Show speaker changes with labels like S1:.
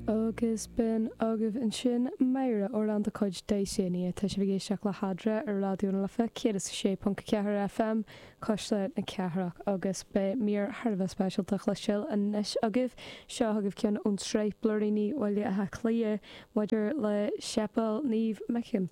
S1: Agus b'in agaibh ansin Máire, amhrán de chuid Dysania. Tá sibh ag éisteacht le hEadra ar Raidió na Life 106.4 FM, Cuisle na Cathrach, agus beidh mír thar a bheith speisialta le cloisteáil anois agaibh. Seo chugaibh ceann ón tsraith Blúiríní Bhaile Átha Cliath maidir le Séipéal Naomh Michan.